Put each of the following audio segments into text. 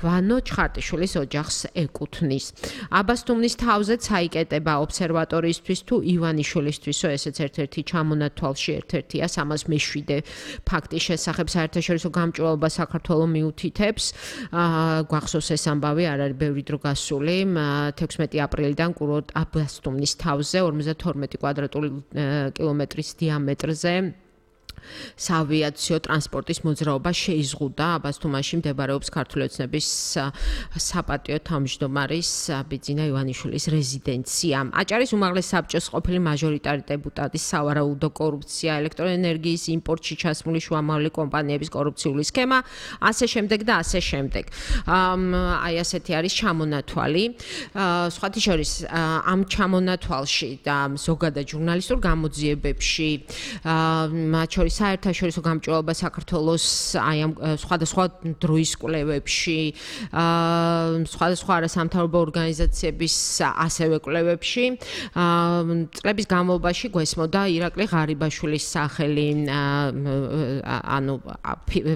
ვანო ჩხარტიშვილის ოჯახს ეკუთვნის. აბასთუმნის თავზე წაიკეტება ობსერვატორიისთვის თუ ივანიშვილისთვისო, ესეც ერთ-ერთი ჩამონათვალში ერთ-ერთია 307 ფაქტის შესახებ საერთაშორისო გამჭვირვალობა საქართველოს მიუთითებს. გვახსოვს ეს ამბავი, არ არის ბევრი დრო გასული, 16 აპრილიდან კურორტ აბასთუმნის თავზე 52 კვადრატული კილომეტრის დიამეტრზე საავიაციო ტრანსპორტის მოძრაობა შეიზღუდა. აბასთუმაში მდებარეობს ქართული ოცნების საპატიო თავმჯდომარის ბიძინა ივანიშვილის რეზიდენცია. აჭარის უმაღლეს საბჭოს ყოფილი მაჟორიტარი დეპუტატის სავარაუდო კორუფცია, ელექტროენერგიის იმპორტში ჩასმული შუამავალი კომპანიების კორუფციული სქემა, ასე შემდეგ და ასე შემდეგ. აი ასეთი არის ჩამონათვალი. სხვათა შორის ამ ჩამონათვალში და ზოგადად ჟურნალისტურ გამოძიებებში მათ შორის საერთაშორისო გამჭვირვალობა საქართველოს აი ამ სხვადასხვა დროის კვლევებში, სხვადასხვა არასამთავრობო ორგანიზაციების ასევე კვლევებში წლების განმავლობაში გვესმოდა ირაკლი ღარიბაშვილის სახელი, ანუ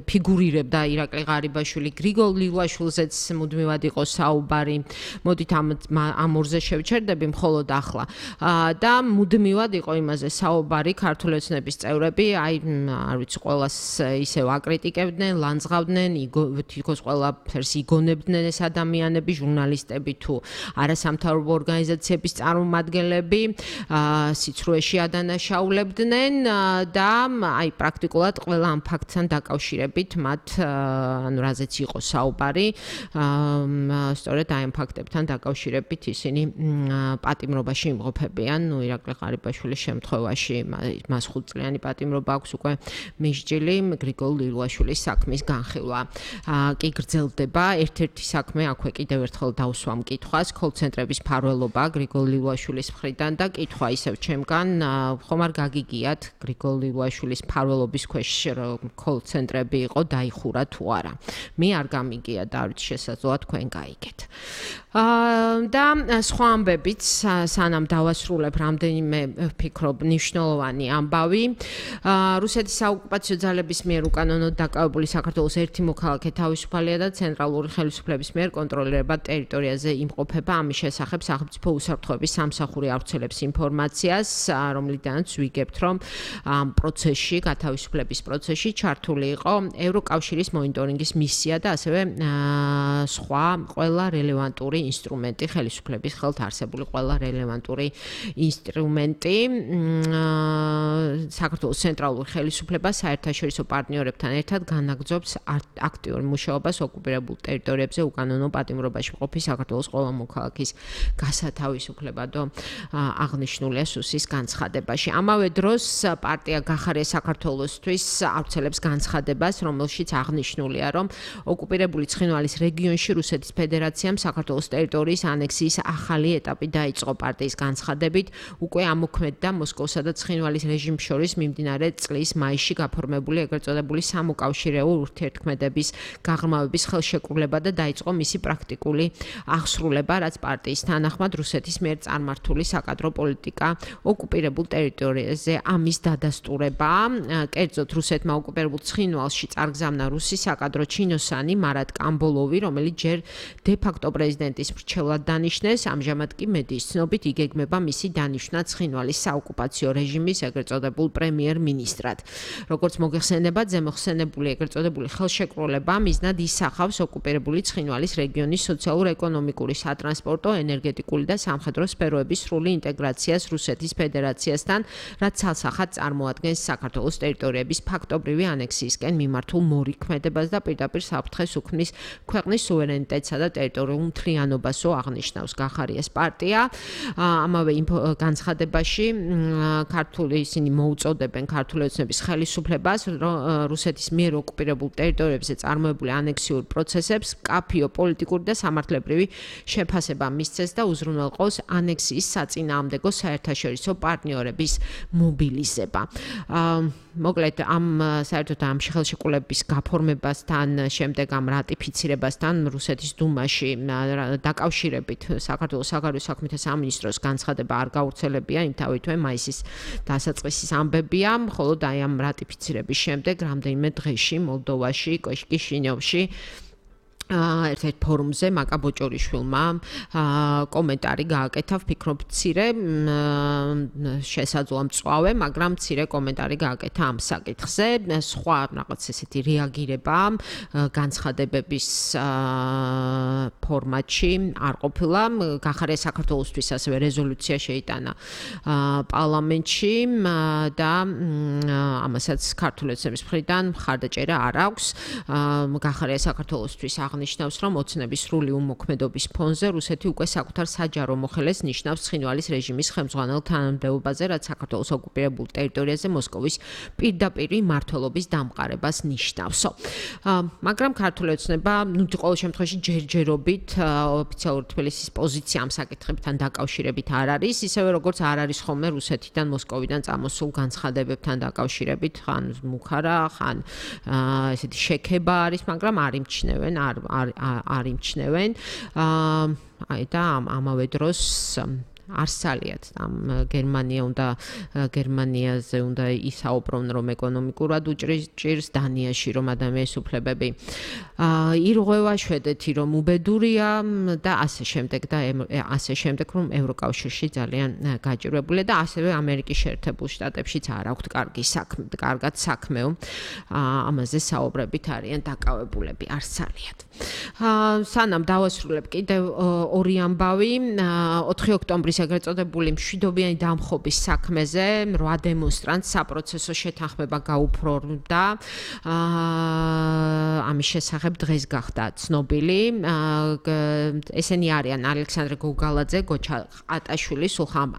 ფიგურირებდა ირაკლი ღარიბაშვილი, გრიგოლ ლილვაშვილზეც მუდმივად იყო საუბარი. მოდით ამ ორზე შევჩერდები მხოლოდ ახლა. და მუდმივად იყო იმაზე საუბარი, ქართული ოცნების წევრები აი არ ვიცი ყველას ისევ აკრიტიკებდნენ, ლანძღავდნენ, თითქოს ყველაფერს იგონებდნენ ეს ადამიანები, ჟურნალისტები თუ არასამთავრობო ორგანიზაციების წარმომადგენლები, სიცრუეში ადანაშაულებდნენ და აი პრაქტიკულად ყველა ამ ფაქტთან დაკავშირებით მათ ანუ რაზეც იყო საუბარი, სწორედ აი ამ ფაქტებთან დაკავშირებით ისინი პატიმრობაში იმყოფებიან. ნუ ირაკლი ღარიბაშვილის შემთხვევაში მას 5 წლიანი პატიმრობა აქვს უკვე მისჯილი, გრიგოლ ლილვაშვილის საქმის განხილვა კი გრძელდება. ერთ-ერთი საქმე აქვე კიდევ ერთხელ დავსვამ კითხვას, კოლ-ცენტრების მფარველობა გრიგოლ ლილვაშვილის მხრიდან და კითხვა ისევ ჩემგან, ხომ არ გაგიგიათ გრიგოლ ლილვაშვილის მფარველობის ქვეშ კოლ-ცენტრები იყო, დაიხურა თუ არა. მე არ გამიგია და არ ვიცი შესაძლოა თქვენ გაიგეთ. და სხვა ამბებიც სანამ დავასრულებ რამდენიმე ვფიქრობ მნიშვნელოვანი ამბავი. რუსეთის საოკუპაციო ძალების მიერ უკანონოდ დაკავებული საქართველოს ერთი მოქალაქე თავისუფალია და ცენტრალური ხელისუფლების მიერ კონტროლირებად ტერიტორიაზე იმყოფება. ამის შესახებ სახელმწიფო უსაფრთხოების სამსახური ავრცელებს ინფორმაციას, რომლიდანაც ვიგებთ, რომ ამ პროცესში, გათავისუფლების პროცესში ჩართული იყო ევროკავშირის მონიტორინგის მისია და ასევე სხვა ყველა რელევანტური ინსტრუმენტი, ხელისუფლების ხელთ არსებული ყველა რელევანტური ინსტრუმენტი. საქართველოს ცენტრალურ ხელისუფლებას საერთაშორისო პარტნიორებთან ერთად განაგრძობს აქტიურ მუშაობას ოკუპირებულ ტერიტორიებზე უკანონო პატიმრობაში მყოფი საქართველოს ყველა მოქალაქის გასათავისუფლებადო აღნიშნულია სუსის განცხადებაში. ამავე დროს პარტია გახარია საქართველოსთვის ავრცელებს განცხადებას, რომელშიც აღნიშნულია, რომ ოკუპირებული ცხინვალის რეგიონში რუსეთის ფედერაციამ საქართველოს ტერიტორიის ანექსიის ახალი ეტაპი დაიწყო. პარტიის განცხადებით უკვე ამოქმედდა მოსკოვსა და ცხინვალის რეჟიმს შორის მიმდინარე წლის მაისში გაფორმებული ეგრეთ წოდებული სამოკავშირეო ურთიერთქმედების გაღრმავების ხელშეკრულება და დაიწყო მისი პრაქტიკული აღსრულება, რაც პარტიის თანახმად რუსეთის მიერ წარმართული საკადრო პოლიტიკა ოკუპირებულ ტერიტორიაზე ამის დადასტურება. კერძოდ რუსეთმა ოკუპირებულ ცხინვალში წარგზავნა რუსი საკადრო ჩინოსანი მარატ კამბოლოვი, რომელიც ჯერ დე-ფაქტო პრეზიდენტის მრჩევლად დანიშნეს, ამჟამად კი მედიის ცნობით იგეგმება მისი დანიშვნა ცხინვალის საოკუპაციო რეჟიმის ეგრეთ წოდებულ პრემიერ-მინისტრად. როგორც მოგეხსენებათ, ზემოხსენებული ეგრეთ წოდებული ხელშეკრულება მიზნად ისახავს ოკუპირებული ცხინვალის რეგიონის სოციალურ-ეკონომიკური, სატრანსპორტო, ენერგეტიკული და სამხედრო სფეროების სრული ინტეგრაციას რუსეთის ფედერაციასთან, რაც ცალსახად წარმოადგენს საქართველოს ტერიტორიების ფაქტობრივი ანექსიისკენ მიმართულ მორიქმედებას და პირდაპირ საფრთხეს უქმნის ქვეყნის სუვერენიტეტსა და ტერიტორიულ მთლიანობასო აღნიშნავს გახარიას პარტია. ამავე განცხადებაში ისინი მოუწოდებენ ქართული ოცნების ხელისუფლებას რუსეთის მიერ ოკუპირებულ ტერიტორიებზე წარმოებული ანექსიურ პროცესებს კაფიო პოლიტიკური და სამართლებრივი შეფასება მისცეს და უზრუნველყოს ანექსიის საწინააღმდეგო საერთაშორისო პარტნიორების მობილიზება. მოკლედ ამ საერთოდ ამ ხელშეკრულების გაფორმებასთან, შემდეგ ამ რატიფიცირებასთან რუსეთის დუმაში დაკავშირებით საქართველოს საგარეო საქმეთა სამინისტროს განცხადება არ გავრცელებია, იმთავითვე მაისის დასაწყისის ამბებია, მხოლოდ აი ამ რატიფიცირების შემდეგ რამდენიმე დღეში მოლდოვაში, კიშინიოვში ერთ-ერთ ფორუმზე მაკა ბოჭორიშვილმა კომენტარი გააკეთა, ვფიქრობ, მცირე შესაძლოა მწვავე, მაგრამ მცირე კომენტარი გააკეთა ამ საკითხზე. სხვა რაღაც ესეთი რეაგირება განცხადებების ფორმატში არ ყოფილა. გახარია საქართველოსთვის ასევე რეზოლუცია შეიტანა პარლამენტში და ამასაც ქართული ოცნების მხრიდან მხარდაჭერა არ აქვს. გახარია საქართველოსთვის ნიშნავს, რომ ოცნების სრული უმოქმედობის ფონზე რუსეთი უკვე საკუთარ საჯარო მოხელეს ნიშნავს ცხინვალის რეჟიმის ხელმძღვანელ თანამდებობაზე, რაც საქართველოს ოკუპირებულ ტერიტორიაზე მოსკოვის პირდაპირი მმართველობის დამყარებას ნიშნავსო. მაგრამ ქართული ოცნება, ყოველ შემთხვევაში ჯერჯერობით ოფიციალურ თბილისის პოზიცია ამ საკითხებთან დაკავშირებით არ არის, ისევე როგორც არ არის ხოლმე რუსეთიდან, მოსკოვიდან წამოსულ განცხადებებთან დაკავშირებით, ხან მუხარა, ხან ესეთი შექება არის, მაგრამ არ იმჩნევენ, არ იმჩნევენ და ამავე დროს არსალიათ ამ გერმანიაზე უნდა ისაუბრონ, რომ ეკონომიკურად უჭირს, დანიაში რომ ადამიანის უფლებები ირღვევა, შვედეთი რომ უბედურია და ასე შემდეგ, რომ ევროკავშირში ძალიან გაჭირვებულია და ასევე ამერიკის შეერთებულ შტატებშიც არ აქვთ კარგად საქმეო, ამაზე საუბრებით არიან დაკავებულები, არსალიათ. სანამ დავასრულებ კიდევ ორი ამბავი, 4 ოქტომბრის ეგრეთ წოდებული მშვიდობიანი დამხობის საქმეზე 8 დემონსტრანტს საპროცესო შეთანხმება გაუფორმდა. ამის შესახებ დღეს გახდა ცნობილი. ესენი არიან ალექსანდრე გოგალაძე, გოჩა ყატაშვილი, სულხან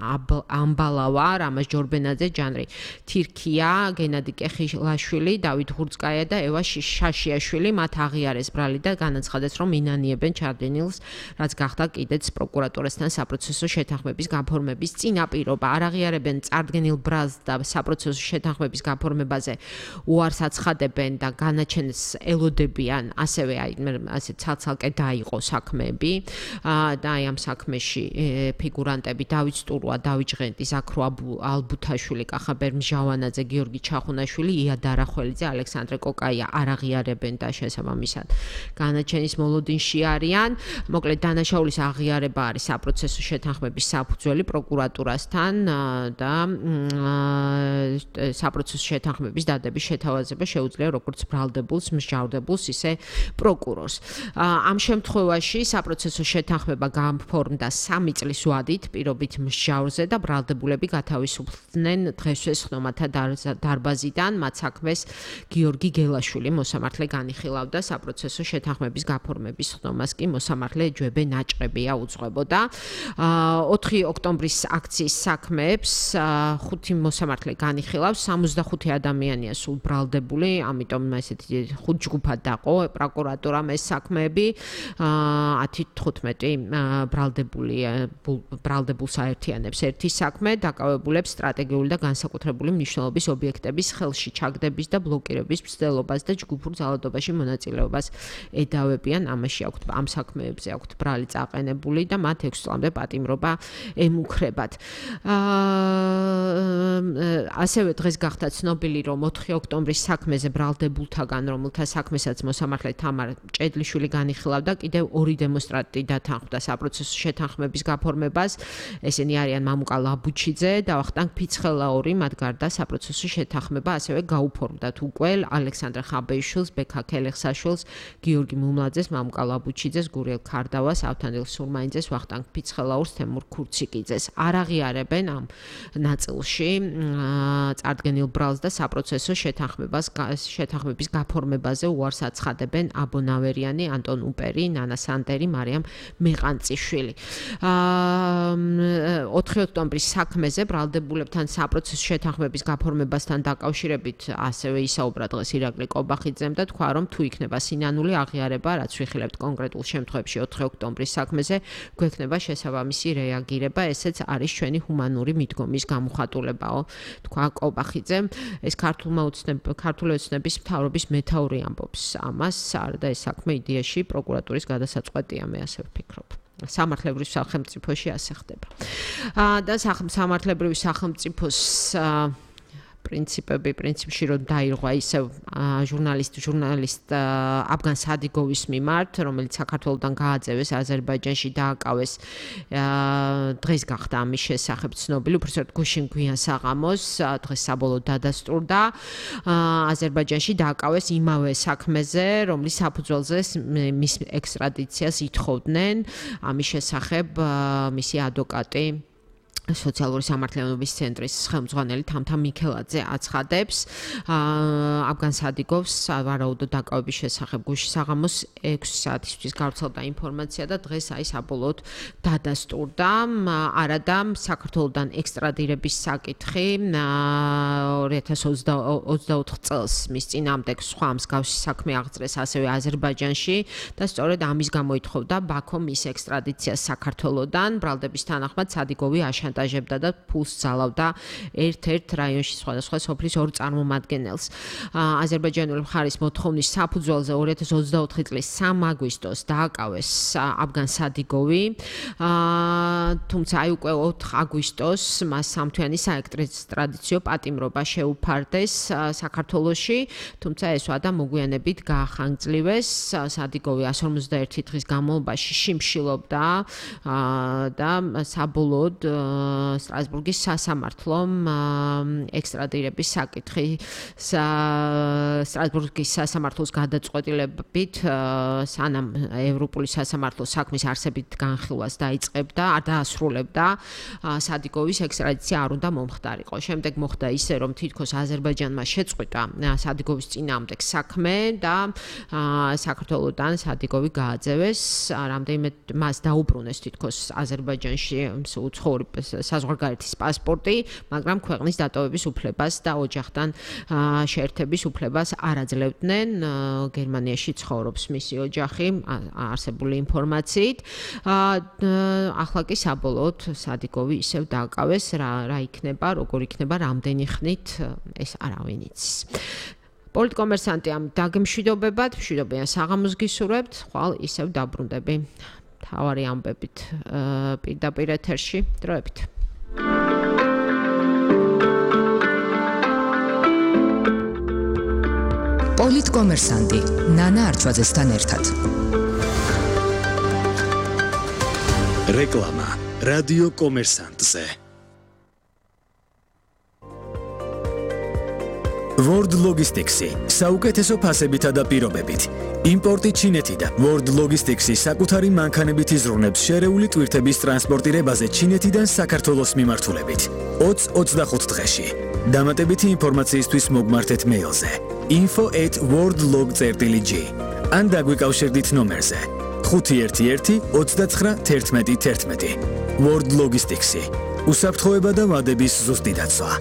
ამბალავა, რამაზ ჯორბენაძე, ჯანრი თირქია, გენადი კეხილაშვილი, დავით ღურწკაია და ევა შაშიაშვილი. მათ აღიარეს ბრალი და განაცხადეს, რომ ინანიებენ ჩარდენილს, რაც გახდა კიდეც პროკურატურასთან საპროცესო შეთანხმების გაფორმების წინაპირობა. არ აღიარებენ წარდგენილ ბრალს და საპროცესო შეთანხმების გაფორმებაზე უარს აცხადებენ და განაჩენს ელოდებიან, ასევე ასე ცალ-ცალკე დაიყო საქმეები და ამ საქმეში ფიგურანტები დავით სტურვა, დავით ჟღენტი, ზაქრო ალბუთაშვილი, კახაბერ მჟავანაძე, გიორგი ჩახუნაშვილი, ია დარახველიძე, ალექსანდრე კოკაია არ აღიარებენ და შესაბამისად განაჩენის მოლოდინში არიან. მოკლედ დანაშაულის აღიარება არის საპროცესო შეთანხმების საფუძველი პროკურატურასთან და საპროცესო შეთანხმების დადების შეთავაზება შეუძლია როგორც ბრალდებულს, მსჯავრდებულს, ისე პროკურორს. ამ შემთხვევაში საპროცესო შეთანხმება გაფორმდა 3 წლის ვადით პირობით მსჯავრზე და ბრალდებულები გათავისუფლდნენ დღესვე ხნომათა დარბაზიდან. მათ საქმეს გიორგი გელაშვილი მოსამართლე განიხილავდა, საპროცესო შეთანხმების გაფორმების ხნომას კი მოსამართლე ჯვებე ნაჭყებია უძღვებოდა. 4 ოქტომბრის აქციის საქმეებს 5 მოსამართლე განიხილავს, 65 ადამიანია სულ ბრალდებული, ამიტომ ესეთი 5 ჯგუფად დაყო პროკურატურამ ეს საქმეები. 10-15 ბრალდებულს აერთიანებს ერთი საქმე, დაკავებულებს სტრატეგიული და განსაკუთრებული მნიშვნელობის ობიექტების ხელში ჩაგდების და ბლოკირების მცდელობას და ჯგუფურ ძალადობაში მონაწილეობას ედავებიან. ამაში აქვთ ამ საქმეებზე აქვთ ბრალი წაყენებული და მათ 6 წლამდე პატიმრობა ემუქრებათ. ასევე დღეს გახდა ცნობილი, რომ 4 ოქტომბრის საქმეზე ბრალდებულთაგან, რომელთა საქმესაც მოსამართლე თამარ ჭედლიშვილი განიხილავდა, კიდევ 2 დემონსტრანტი დათანხმდა საპროცესო შეთანხმების გაფორმებას. ესენი არიან მამუკა ლაბუჩიძე და ვახტანგ ფიცხელაური. მათ გარდა საპროცესო შეთანხმება ასევე გაუფორმდათ უკვე ალექსანდრე ხაბეიშვილს, ბექა ქელეხსაშვილს, გიორგი მუმლაძეს, მამუკა ლაბუჩიძეს, გურიელ ქარდავას, ავთანდილ სურმაინძეს, ვახტანგ ფიცხელაურს, თემურ ქურციკიძეს. არ აღიარებენ ამ ნაწილში წარდგენილ ბრალს და საპროცესო შეთანხმების გაფორმებაზე უარს აცხადებენ აბონავერიანი, ანტონ უპერი, ნანა სანდერი, მარიამ მეყანციშვილი. 4 ოქტომბრის საქმეზე ბრალდებულებთან საპროცესო შეთანხმების გაფორმებასთან დაკავშირებით ასევე ისაუბრა დღეს ირაკლი კობახიძემ და თქვა, რომ თუ იქნება სინანული აღიარება, რაც ვიხილებთ კონკრეტულ შემთხვევებში 4 ოქტომბრის საქმეზე, გვექნება შესაბამისი რეაგირება, ესეც არის ჩვენი ჰუმანური მიდგომის გამოხატულებაო, თქვა კობახიძემ. ეს ქართული ოცნების მთავრობის მეთაური ამბობს ამას, და ეს საქმე იდეაში პროკურატურის გადასაწყვეტია, მე ასე ვფიქრობ. სამართლებრივ სახელმწიფოში ასე ხდება. და სამართლებრივ სახელმწიფოს პრინციპში რომ დაირღვა ისევ ჟურნალისტ აფგან სადიგოვის მიმართ, რომელიც საქართველოსთან გააძევეს აზერბაიჯანში დააკავეს დღეს გახდა ამის შესახებ ცნობილი, უბრალოდ გუშინ გვიან საღამოს დღეს საბოლოოდ დადასტურდა აზერბაიჯანში დააკავეს იმავე საქმეზე, რომლის საფუძველზე მის ექსტრადიციას ითხოვდნენ ამის შესახებ მისი ადვოკატი სოციალური სამართლიანობის ცენტრის ხელმძღვანელი თამთა მიქელაძე აცხადებს აფგან სადიგოვს ვარაუდო დაკავების შესახებ გუშინ საღამოს 6 საათისთვის გავრცელდა ინფორმაცია და დღეს საბოლოოდ დადასტურდა არადა საქართველოსთან ექსტრადირების საკითხი 2024 წელს მის წინააღმდეგ სხვა მსგავსი საქმე აღწრეს ასევე აზერბაიჯანში და სწორედ ამის გამო ითხოვდა ბაქომ მის ექსტრადიციას საქართველოსთან ბრალდების თანახმად სადიგოვი აშანტაჟებდა და ფულს ძალავდა ერთ-ერთ რაიონში სხვადასხვა სოფლის ორ წარმომადგენელს. აზერბაიჯანული მხარის მოთხოვნის საფუძველზე 2024 წლის 3 აგვისტოს დააკავეს აფგან სადიგოვი, თუმცა უკვე 4 აგვისტოს მას სამთვიანი საექსტრადიციო პატიმრობა შეუფარდეს საქართველოში, თუმცა ეს ვადა მოგვიანებით გაახანგწლივეს. სადიგოვი 151 დღის განმავლობაში შიმშილობდა და საბოლოოდ სტრასბურგის სასამართლომ ექსტრადირების საკითხი სტრასბურგის სასამართლოს გადაწყვეტილებით სანამ ევროპული სასამართლოს საქმის არსებით განხილვას დაიწყებდა, დაასრულებდა სადიგოვის ექსტრადიცია არ უნდა მომხდარიყო. შემდეგ მოხდა ისე, რომ თითქოს აზერბაიჯანმა შეწყვიტა სადიგოვის წინააღმდეგ საქმე და საქართველოსთან სადიგოვი გააძევეს, რამდენიმე მას დაუბრუნეს თითქოს აზერბაიჯანში უცხოური საზღვარგარეთის პასპორტი, მაგრამ ქვეყნის დატოვების უფლებას და ოჯახთან შეერთების უფლებას არ აძლევდნენ. გერმანიაში ცხოვრობს მისი ოჯახი, არსებული ინფორმაციით. ახლა კი საბოლოოდ სადიგოვი ისევ დააკავეს, რა იქნება, როგორ იქნება, რამდენი ხნით ეს არავინ იცის. პოლიტკომერსანტი ამ დაგემშვიდობებად, მშვიდობიან საღამოს გისურვებთ, ხვალ ისევ დაბრუნდები. თავარი ამბებით პირდაპირ ეთერში დროებით. პოლიტკომერსანტი ნანა არჩვაძესთან ერთად. რეკლამა რადიო კომერსანტზე. World Logistics-ი საუკეთესო ფასებითა და პირობებით. იმპორტი ჩინეთიდან. World Logistics-ი საკუთარი მანქანებით იზრუნებს შერეული ტვირთების ტრანსპორტირებაზე ჩინეთიდან საქართველოს მიმართულებით. 20-25 დღეში. დამატებითი ინფორმაციისთვის მოგმართეთ მეილზე info@worldlog.g ან დაგვიკავშირდით ნომერზე 511 29 11 11. World Logistics-ი. უსაფრთხოება და ვადების ზუსტი დაცვა.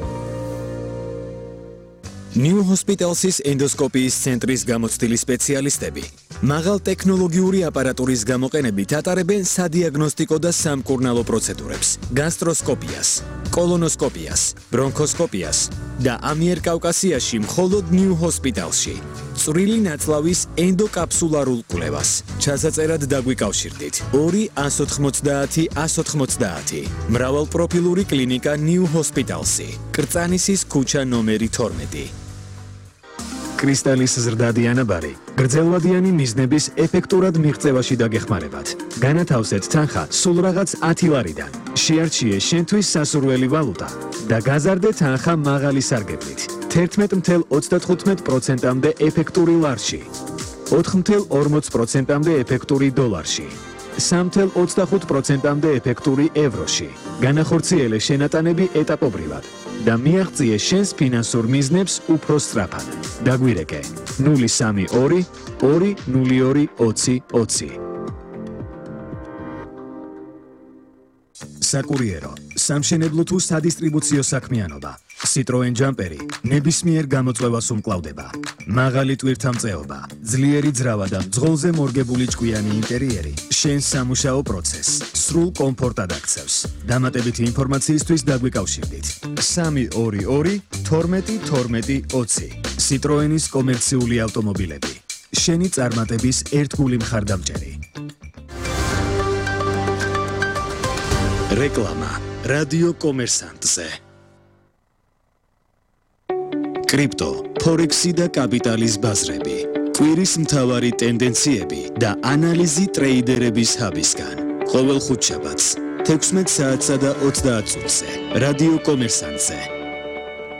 New Hospitals-ის ენდოსკოპიის ცენტრის გამოცდილი სპეციალისტები მაღალ ტექნოლოგიური აპარატურის გამოყენებით ატარებენ სადიაგნოსტიკო და სამკურნალო პროცედურებს, გასტროსკოპიას, კოლონოსკოპიას, ბრონქოსკოპიას და ამიერკავკასიაში მხოლოდ New Hospital-ში წვრილი ნაწლავის ენდოკაპსულარულ კვლევას. ჩასაწერად დაგვიკავშირდით 2 190 190. მრავალპროფილური კლინიკა New Hospitals-ი, კრწანისის ქუჩა ნომერი 12. კრისტალის ზრდადი ანაბარი გრძელვადიანი მიზნების ეფექტურად მიღწევაში დაგეხმარებათ. განათავსეთ თანხა სულ რაღაც 10 ლარიდან. შეარჩიე შენთვის სასურველი ვალუტა და გაზარდე თანხა მაღალი სარგებლით. 11.35%-მდე ეფექტური ლარში, 4.40%-მდე ეფექტური დოლარში, 3.25%-მდე ეფექტური ევროში. განახორციელე შენატანები ეტაპობრივად და მიაღწიე შენს ფინანსურ მიზნებს უფრო სწრაფად. დაგვირეკე 032 202 20 20. საკურიერო, სამშენებლო თუ სადისტრიბუციო საქმიანობა. Citroen Jumperi ნებისმიერ გამოწვევას უმკლავდება. მაღალი ტვირთამწეობა, ძლიერი ძრავა და მძღოლზე მორგებული ჭკვიანი ინტერიერი შენს სამუშაო პროცესს სრულ კომფორტად აქცევს. დამატებითი ინფორმაციისთვის დაგვიკავშირდით 322 12 12 20. Citroenis კომერციული ავტომობილები. შენი წარმატების ერთგული მხარდამჭერი. რეკლამა რადიო კომერსანტზე. კრიპტო, ფორექსი და კაპიტალის ბაზრები. კვირის მთავარი ტენდენციები და ანალიზი ტრეიდერების ჰაბისგან. ყოველ ხუთშაბათს 16 საათსა და 30 წუთზე რადიო კომერსანტზე.